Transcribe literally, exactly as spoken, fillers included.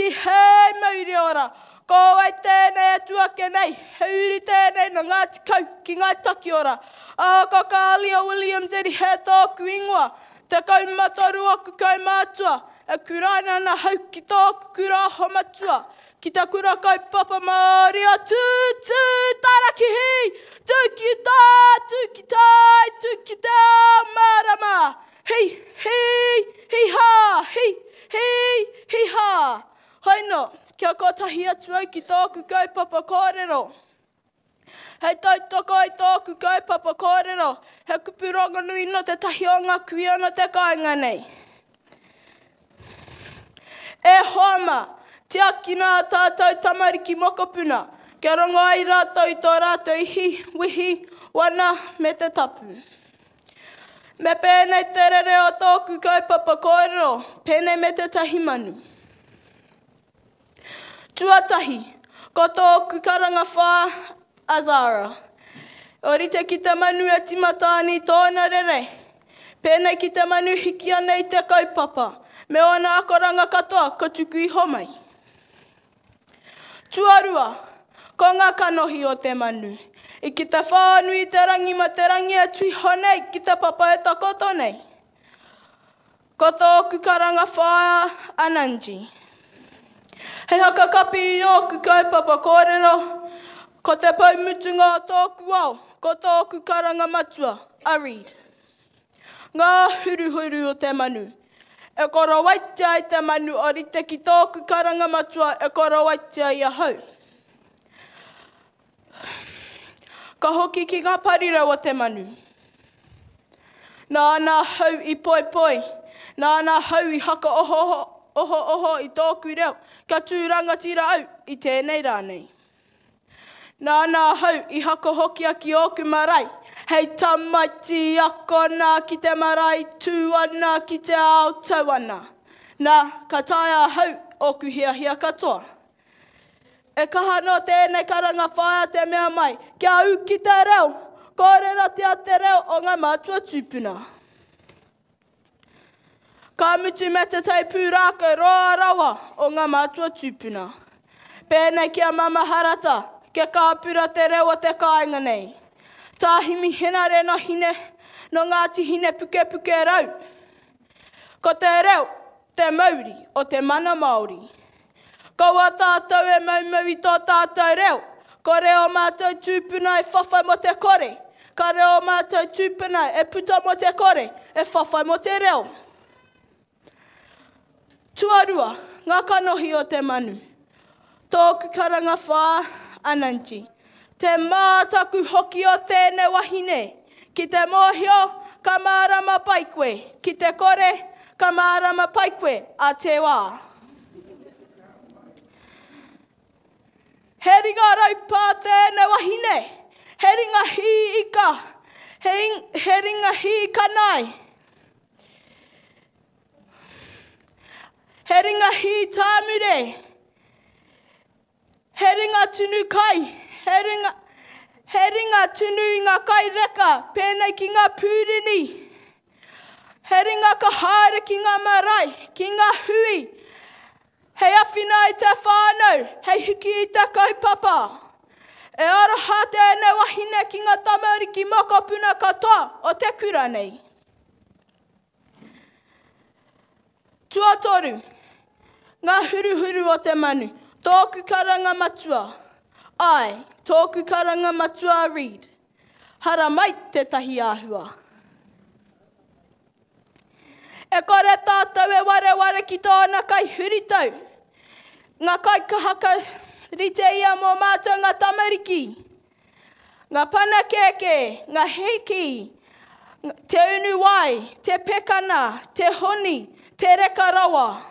Tihei mauri ora! Ko wai tēnei e tū ake nei, he uri tēnei nō Ngāti Kau ki Ngāi Takiora. Ā, ko Kālia Williams Erihe tōku ingoa. Tekau mā toru ōku kaumātua, e kuraina ana hau ki tōku kura aho matua, ki te kura kaupapa Māori o Tū, Tū, Tarakihi! Tū ki tā, tū ki tai, tū ki te ao mārama! Hi, hi, hi hā, hi, hi, hi hā! Hoino, kia kotahi atu au ki tōku kaupapa kōrero. Hei tautoko i tōku kaupapa kōrero, he kupu rongonui nō tētahi o ngā kuia nō te kāinga nei. E hoa mā, tiakina ā tātou tamariki mokopuna, kia rongo ai rātou i tō rātou ihi, wehi, wana me te tapu. Me pēnei te rere o tōku kaupapa kōrero, pēnei me tētahi manu. Tuatahi, ko tōku karanga whā a Zara. Ōrite ki te manu e tīmata ana i tōna rere, pēnei ki te manu hiki ana i te kaupapa, me ōna akoranga katoa ka tuku iho mai. Tuarua, ko ngā kanohi o te manu. I ki te whānui i te rangi ma te rangi e tuiho nei ki te papa e takoto nei. Ko tōku karanga whaea a Nanji. Hei hakakapi i ōku kaupapa kōrero, ko te pou mutunga o tōku ao, ko tōku karanga matua, a Reed. Ngā huruhuru o te manu. E korowaitia ai te manu o rite ki tōku karanga matua e korowaitia ai ahau. Ka hoki ki ngā parirau o te manu. Nāna ahau i poipoi, nāna ahau i hakaohooho i tōku reo kia tū rangatira au i tēnei rā nei. Nāna ahau i hakahokia ki ōku marae, hei tamaiti akona ki te marae tū ana ki te ao tau ana. Nā, ka taea ahau ōku hiahia katoa. E kaha nō tēnei karanga whaea te mea mai, kia ū ki te reo, kōrerotia te reo o ngā mātua tūpuna. Ka mutu me te tai pūrākau roa rawa o ngā mātua tūpuna. Pēnei ki a Mama Harata, kia kāpura te reo o te kāinga nei. Tā Himi Henare nō Hine, nō Ngāti Hinepukepuke Rau. Ko te reo te mauri o te mana Māori. Kaua tātou e maumau i tō tātou reo. Kore ō mātou tūpuna e whawhai mō te kore. Kare ō mātou tūpuna e puta mō te kore, e whawhai mō te reo. Tuarua, ngā kanohi o te manu. Tōku karanga whā, Ananji. Te mātaku hoki o tēnei wahine. Ki te mōhio, ka mārama pai koe. Ki te kore, ka mārama pai koe a te wā. He ringa raupā tēnei wahine, he ringa hī ika, he, he ringa hī kanae, he ringa hī tāmure, he ringa tunu kai, he ringa, he ringa tunu i ngā kai reka, pēnei ki ngā pūrini. He ringa ka haere ki ngā marae, ki ngā hui, hei awhina i te whānau, hei hiki i te kaupapa. E aroha tēnei wahine ki ngā tamariki mokopuna katoa o te kura nei. Tuatoru, ngā huruhuru o te manu, tōku karanga matua. Āe, tōku karanga matua Reed. Haramai tētahi āhua. E kore tātou e wareware ki tōna kai huritau. Ngā kai kahaka rite ia mō mātou ngā tamariki. Ngā panakēkē, ngā hiki, te unu wai, te pekana, te honi, te reka rawa.